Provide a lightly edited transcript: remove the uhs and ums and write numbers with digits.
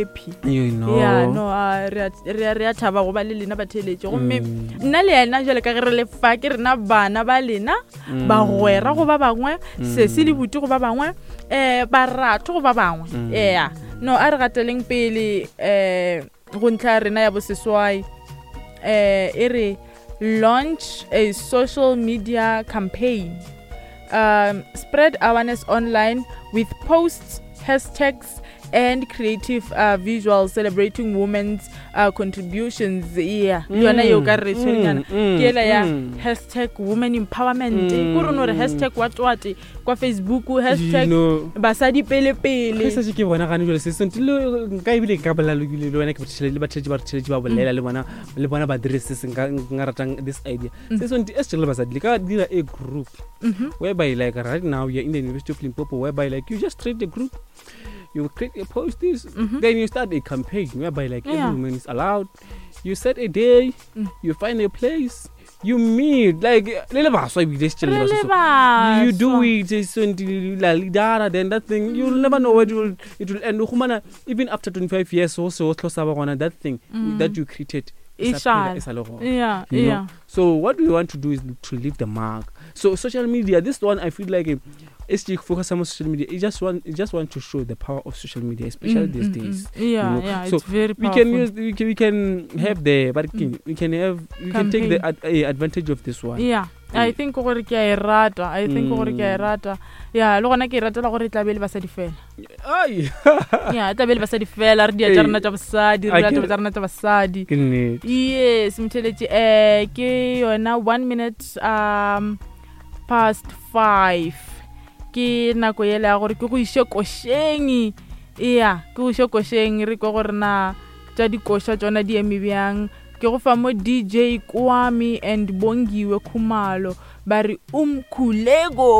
Happy. You know. Ya, no, a, re a- re a- re a thaba go ba le lena batheeletše. Gomme Mm. nna le yena jwale ka ge re le fa, ke rena bana ba lena, Mm. bagwera go ba bangwe, sesi le Mm. buti go ba bangwe, um baratho go ba bangwe. Mm. Ea, no, a re gateleng pele um go ntlha ya rena ya boseswai. Um e re launch a social media campaign. Spread awareness online with posts, hashtags, and creative visuals celebrating women's contributions. Yeah, le yona yeo ka re tshwerenyana. Ke ela ya hashtag women empowerment. Ko re no re hashtag what what kwa Facebook, hashtag You know, basadi pele pele. Ge setse ke bona gane jale se sentse le nka ebile nka bolela le le wena ke bothele le batheletši ba re theletše ba bolela le bona le bona ba dire se se nka nka ratang this idea. Se sentse e se le basadi le ka dira a group whereby like right now you're in the University of Limpopo, whereby like you just create a group, you create a post this, then you start a campaign whereby like every woman is allowed. You set a day, you find a place, you meet like le le baswa ebile se Re le le baswa. You do baswa. it, it's so la leader, then that thing you'll never know where it will end. O khumana even after 25 years so so tlosa ba gona that thing that you created E e sa phela, šala. e sa le gona. You know? So what we want to do is to leave the mark. So social media, this one I feel like it's to focus on social media. It just want to show the power of social media, especially these days. You know? Yeah, So it's very we can powerful. use, we can have the, but we can have, we can take the Campaign. advantage of this one. Yeah, I Yeah. think gore ke a e rata. I think gore ke a e rata. Yeah, le gona ke e ratela gore e tla be le basadi fela. Ai. Yeah, e tla be le basadi fela, re dia tša Ee. rena tša bosadi, re A dira ke taba tša rena tša basadi. Ke nnete. Yes, motheletši, ke yona 1 minute past 5. Ke nako yela ya gore ke go iše košeng. Yeah, ke go iše košeng, re kwe gore na tša dikoša tšona di eme bjang. Ke go fa mo DJ Kwame and Bongiwe Khumalo ba re umkhuleko.